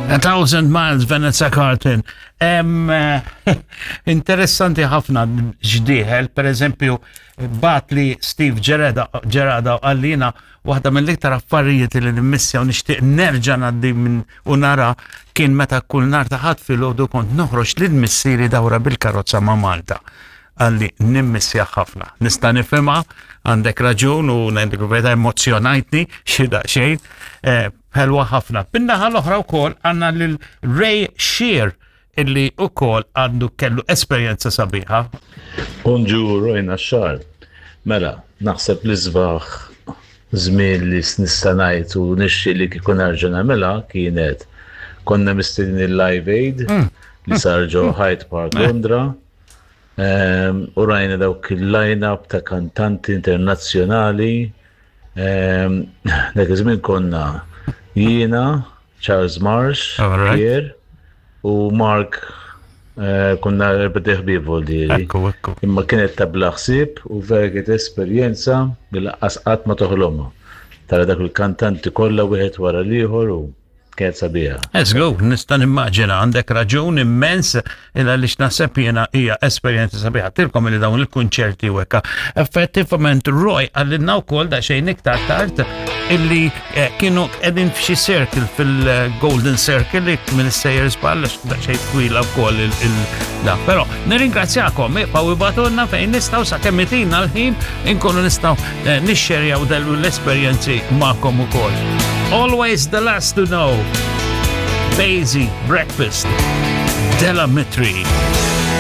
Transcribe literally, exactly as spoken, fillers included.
A Thousand Miles, Vanessa Carlton. Em, eh, interessanti ħafna x'dieħel, per eżempju, bagħat li Steve Gerada, Gerada għallina waħda mill-iktar affarijiet li nimmissja u nixtieq nerġa' ngħaddi minn u nara kien meta kull nhar ta' Ħadd filgħodu kont noħroġ lil missieri dawra bil-karozza ma' Malta. Qalli nimmissja ħafna. Nista' nifhimha, għandek raġun u ngħidlek vera emozjonajtni xi daqsxejn. Eh, ħelwa ħafna. Bin-naħa l-oħra wkoll għandna lil Ray Shear illi wkoll għandu kellu esperjenza sabiħa. Bonġu Roy Naxxar. Mela, naħseb li l-isbaħ żmien li nista' ngħid u nixtieq li kieku nerġa' nagħmilha kienet konna mistednin il-Live Aid li sar ġo Hyde Park Londra. Ehm, U rajna dawk il-line-up ta' kantanti internazzjonali. Ehm, Dak iż-żmien konna jiena, Charles Marsh, Alright. Pierre u Mark eh, konna erbat iħbieb voldieri. Ekku, ekku. Imma kienet ta' bla ħsieb u vera kienet esperjenza li lanqas qatt ma toħlomha. Tara dak il-kantanti kollha wieħed wara l-ieħor u kienet sabiħa. Let's go, nista' nimmaġina għandek raġun immens illa li x'naħseb jiena hija esperjenza sabiħa. Tilkom li dawn il-kunċerti u hekk. Effettivament Roy qalilna wkoll daqsxejn iktar tard illi eh, kienu qegħdin f'xi circle fil-Golden Circle li minn sejjer żball daqsxejn twila wkoll il- il- da. Però nirringrazzjakom, ibqgħu ibagħtulna fejn nistgħu sakemm itina l-ħin inkunu nistgħu eh, nixxerjaw dellu l-esperjenzi magħkom ukoll. Always the last to know. Basie Breakfast. Del Amitri.